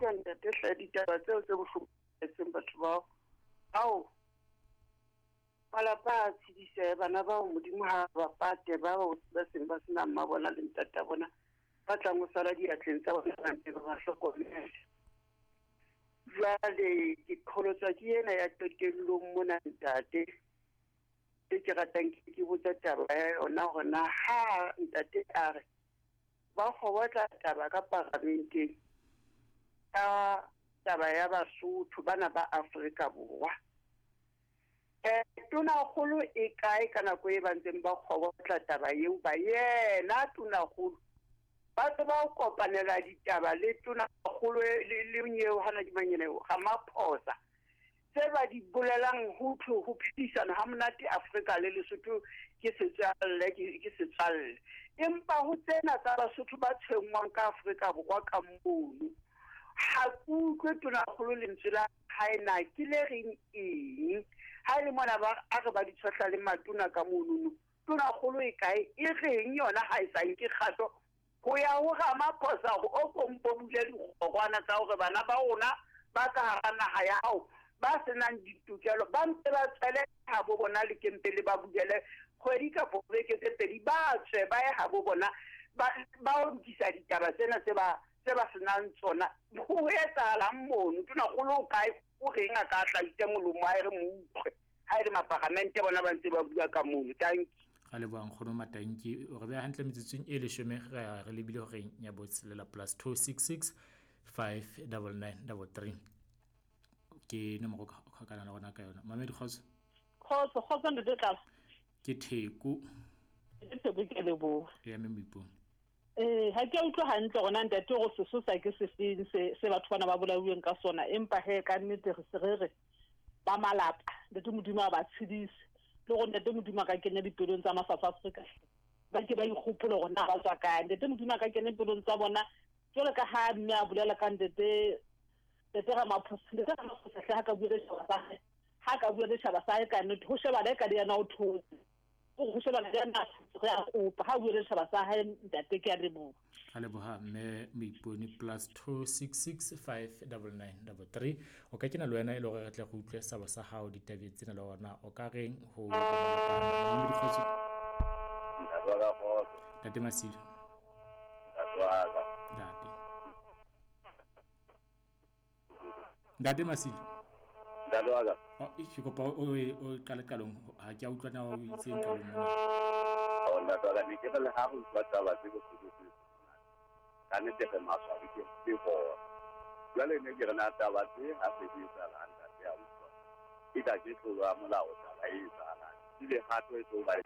Utlwa ntate hle ditaba tseo tse bohloko etseng batho bao. Ao malapa a tshedisehe bana bao Modimo ha ba pate bao ba seng ba sena mma bona le ntata bona ba tlang ho sala diatleng tsa bona ba ntse ba ba hlokomele. Jwale ke qholotswa ke ena ya qetellong mona ntate. E ke ratang ke botsa taba ya yona hore na ha ntate a re ba kgobotla taba ka paramenteng ka taba ya Basotho bana ba Afrika Borwa. Tonakgolo e kae ka nako e ba ntseng ba kgobotla taba eo ba yena tonakgolo ba tse ba kopanela ditaba le tonakgolo le nyeo hana di manyene Ramaphosa tse ba di bolelang ho thwe ho phedisana ha monate Afrika le Lesotho ke setswalle ke setswalle empa ho tsena tsa Basotho ba tshwenngwang ka Afrika Borwa ka mono ha ke utlwe tonakgolo lentswe la hae na ke le reng eng ha e le mona ba a re ba di tshohla le matona ka monono tonakgolo e kae e reng yona ha e sa nke kgato ho ya ho Ramaphosa hore o ko mpo bule dikgorwana tsa hore bana ba rona ba ka hara naha ya hao ba senang ditokelo ba mpe ba tswele habo bona le kempe le ba bulele kgwedi kapo beke tse pedi ba tswe ba ye habo bona ba ba lokisa ditaba tsena tse ba senang tsona. Ho etsahalang mono tonakgolo o kae o reng a ka hlahise molomo a e re mo utlwe ha e le maparamente bona ba ntse ba bua ka mono. Tanki Ga leboha nkgono Matanki o re beha hantle metsotsong e leshome re lebile horeng ya botshelela plus 266 599 33 ke nomoro ka kgokana le rona ka yona. Mamedi kgotso. Kgotso, kgotso ntate Tlala. Ke Theko. Ke Theko ke leboha. Ya mme Moipone. Ha ke utlwe hantle rona ntate hore sesosa ke sefeng se batho bana ba bolauweng ka sona empa he ka nnete re se re re ba malapa ntate Modimo a ba tshedise le gore ntate Modimo a ka kenya dipelong tsa ma South Africa ba ke ba ikgopole hore na ba tswa kae ntate Modimo a ka kenya dipelong tsa bona jwalo ka ha mme a bolela ka ntate Ramaphosa ntate Ramaphosa hle ha ka bua le setjhaba sa hae ha ka bua le setjhaba sa hae ka nnete ho shebana e ka le yena o thotse go shebana le yena re a kopa ha bua le setjhaba sa hae ntate ke a leboha. Ga leboha mme Moipone plus 266 599 33 o ka kena le wena e le hore re tle re utlwe sabo sa hao ditabeng tsena le hore o ka reng ho Ntate Masilo. Ntate. Ntate Masilo. Ntate wa ka. Oh, ke kopa o qale qalong ha ke a utlwa na o itseng qalong mona. Oh, ntate wa ka ne ke re le ha re utlwa taba tse bohloko tse ka nnete re maswabi ke bona. Jwale ne ke re na taba tse ha se di etsahalang ntate a utlwa. E ka ke tlolo ya molao taba e etsahalang. Ebile kgato e tlo ba e.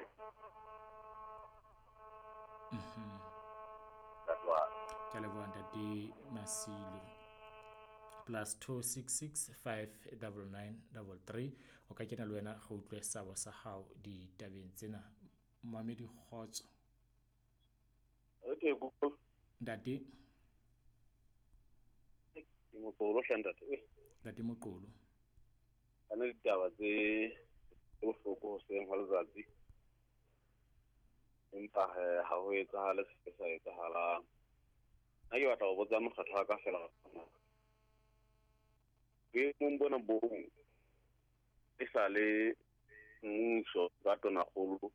Ntate wa ka. Ke a leboha ntate Masilo. Plus 266 599 33 o ka kena le wena go utlwe sabo sa hao ditabeng tsena. Mamedi kgotso. Okay, Ntate. Ke Moqolo hle ntate. Ntate Moqolo. Ana ditaba tse bohloko hoseng hwa letsatsi. Empa ha ho etsahale se sa etsahalang. Nna ke batla ho botsa mokgatlo wa ka fela. Boemong bona bong e sa le mmuso ka tonakgolo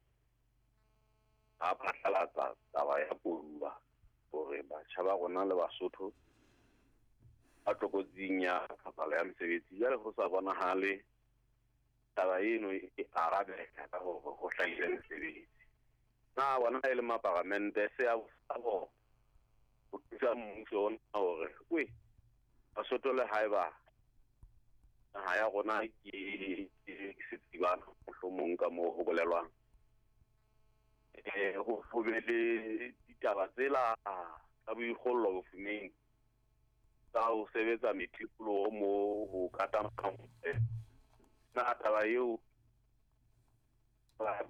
a phatlalatsa taba ya koduwa hore batjha ba rona le Basotho ba tlokotsing ya tlhokahalo ya mesebetsi. Jwale ho sa bonahale taba eno e arabeha ka hore ho hlahile mesebetsi. Na bona e le maparamente se a bona ho thusa mmuso ona hore we Basotho le haeba naha ya rona ke setsibana mohlomong ka moo ho bolelwang ho be le ditaba tsela tsa boikgollo bofumeng tsa ho sebetsa methipoloho moo ho kata na taba eo ba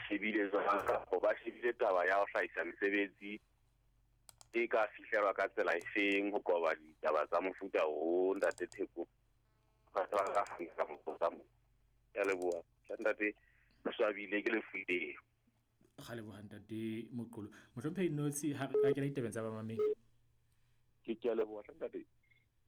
shebile jwang kapa ba shebile taba ya ho hlahisa mesebetsi e ka fihlelwa ka tsela efeng ho qoba ditaba tsa mofuta o ntate Theko ba ka ka mokgotsa mo. Ke a leboha ntate, re swabile ke lefuleng. Ga leboha ntate Moqolo. Mohlomphehi Notsi ha re kena ditabeng tsa bamamedi. Ke a leboha ntate.